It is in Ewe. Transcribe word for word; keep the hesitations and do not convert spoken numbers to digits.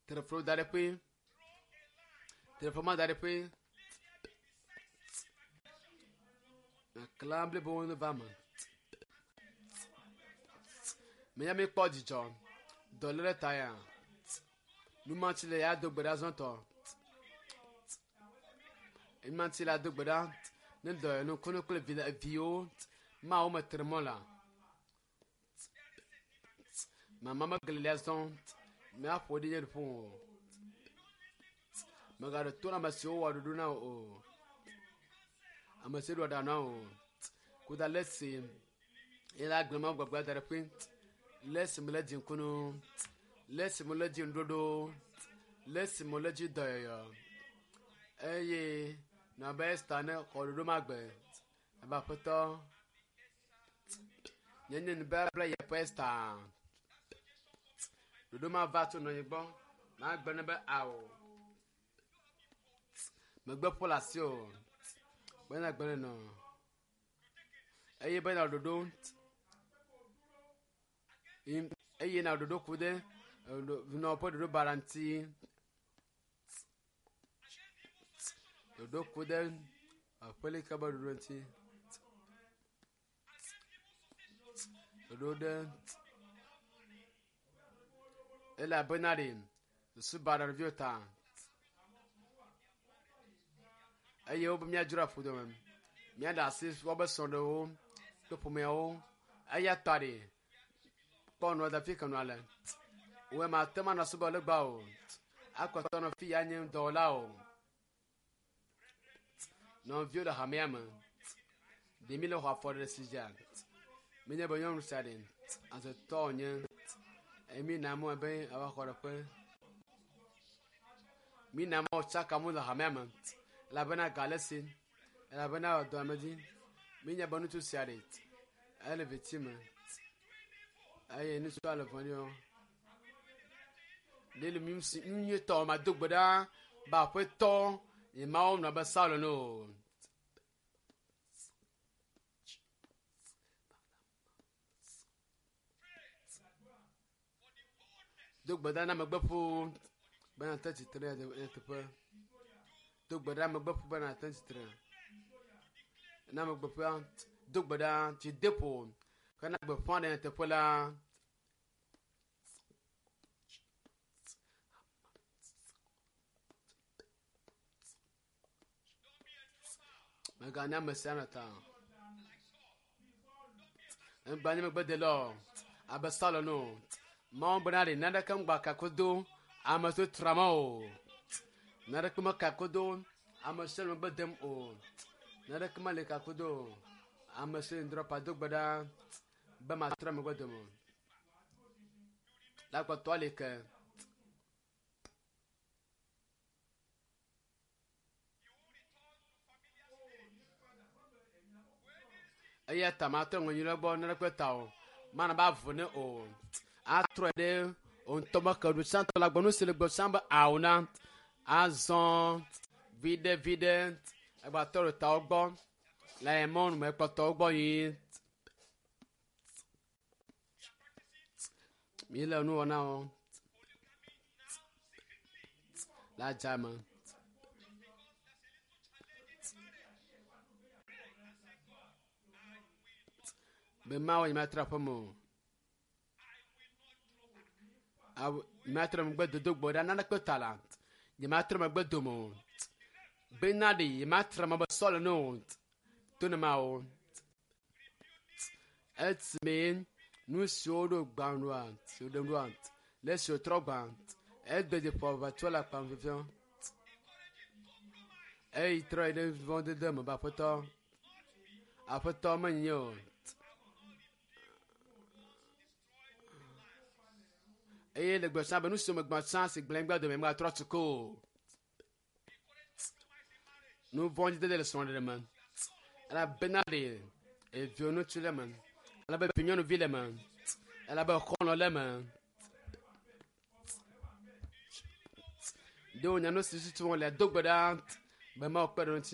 Telefon da ɖe ƒe. Telefon ma da ɖe ƒe. Klã blibo ne va me. Menya mi kpɔ dzidzɔ. Dɔléle ta ya. Numatsi le ya do gbe ɖa zɔtɔ. Numatsi la do gbe ɖa. Ne dɔ nukunu kple vi viwo mawo me tre mɔ la. Mama megli lia zɔn. Míaƒo ɖi nye ɖuƒo o. Mègaɖe to na ame siwo wɔ ɖoɖo na wò o. Ame siwo ɖo aɖaŋu na wò o. Kuda le si ye la gblẽ mawu gbagba da ɖe ƒe. Le esi me le dzi ŋkunu. Le esi me le dzi ŋuɖoɖo. Le esi me le dzi dɔyɔyɔ. Eye nɔ abe Esta ne xɔ ɖoɖo ma gbe. Abe aƒetɔ. Nye nye nubabla ya ƒe Esta. Ɖoɖo ma va tso nɔnye gbɔ. Magblɔ nɛ be ao. Megbe ƒo le asi o. Bena gbe nɔ. Eye bena ɖoɖo. Eye na ɖoɖo ku ɖe nɔ ƒe ɖoɖo baɖa ŋuti. Ɖoɖo ku ɖe aƒelika ƒe ɖoɖo ŋuti. Ɖoɖo ɖe elabena ɖe susu baɖa ɖeviwo ta. Eye wobe míadzro aƒu dome. Míaɖe asi wobe srɔ̃ɖewo kple ƒomeawo. Eya ta ɖe kpɔ nua da fi ke nua le. Wòe mate ŋu anɔ subɔ legba o. Akpɔtɔ nɔ fi ya nye dɔwɔla o. Nɔviwo le hamea me. Ɖe mi le xɔ afɔ ɖe si dzia. Menye be nyɔnu sia ɖe azetɔ wònye. Eye mi na mɔ be ava xɔ ɖeƒe. Mi na mɔ tsaka mu le hamea me. Elabena ga le esi. Elabena dɔ ame dzi. Mi nya be ŋutsu sia ɖe ele viti me. Eye ŋutsua le vɔ̃ɖi wɔm. Ɖe le nu si nu nyuietɔ mado gbe ɖa be aƒetɔ nye Mawu nɔ abe Saul ene o. Do gbe ɖa na megbeƒo be nàte tsitre ɖe nyateƒe. Do gbe ɖa megbeƒo be nàte tsitre. Na megbeƒoa do gbe ɖa dzideƒo hena gbeƒã ɖe nyateƒe la. Mègana ame sia ame ta. Egba nye megbedela o abe Saul ene o. Mawu bena ɖe naneke ŋgba kakodo ame siwo tra mɔ o. Naneke mekakodo ame siwo le megbe dem o. Naneke meli kakodo o. Ame siwo le ŋdrɔpa do gbe ɖa be matrɔ megbe dome o. La kpɔtɔ li ke. Eya ta matrɔ ŋɔnyi ɖe gbɔ naneke ta o. Mana ba vo ne o. Atrɔe ɖe wò ŋutɔ me ke ɖu tsãtɔ la gbɔ nu si le gbɔ tsã be ao na. Azɔ viɖe viɖe egbatɔ ɖe tawo gbɔ le mɔnu me kpɔtɔwo gbɔ yi. Mi le nu wɔna wɔm le adzame. Be Mawu nye matrɔ aƒeme o. Awu nye matrɔ megbe dodo gbe ɖa naneke ta la. Nye matrɔ megbe dome o. Bena ɖe nye matra me be Saul ene o. To ne Mawu. Esime nu siwo ɖo gbã ɖoa, siwo ɖem ɖoa, le esi wòtrɔ gbã, egbe dzi ƒo aʋatsɔ le akpam fifiɔ. Eyi trɔ yi ɖe vɔ̃dede me be aƒetɔ, aƒetɔ menye o. Eye le gbe tsã be nu siwo megbã tsã si gblẽ gbe dome megatrɔ tu ke o. Nu vɔ̃dzidede le srɔ̃ɖeɖe me. Elabena ɖe eviwo ŋutsu le eme. Elabe vinyɔnuvi le eme. Elabe xɔlɔ̃ le eme. Ɖe wònya nu si tutu wòle do gbe ɖa be Mawu kpe ɖe eŋuti.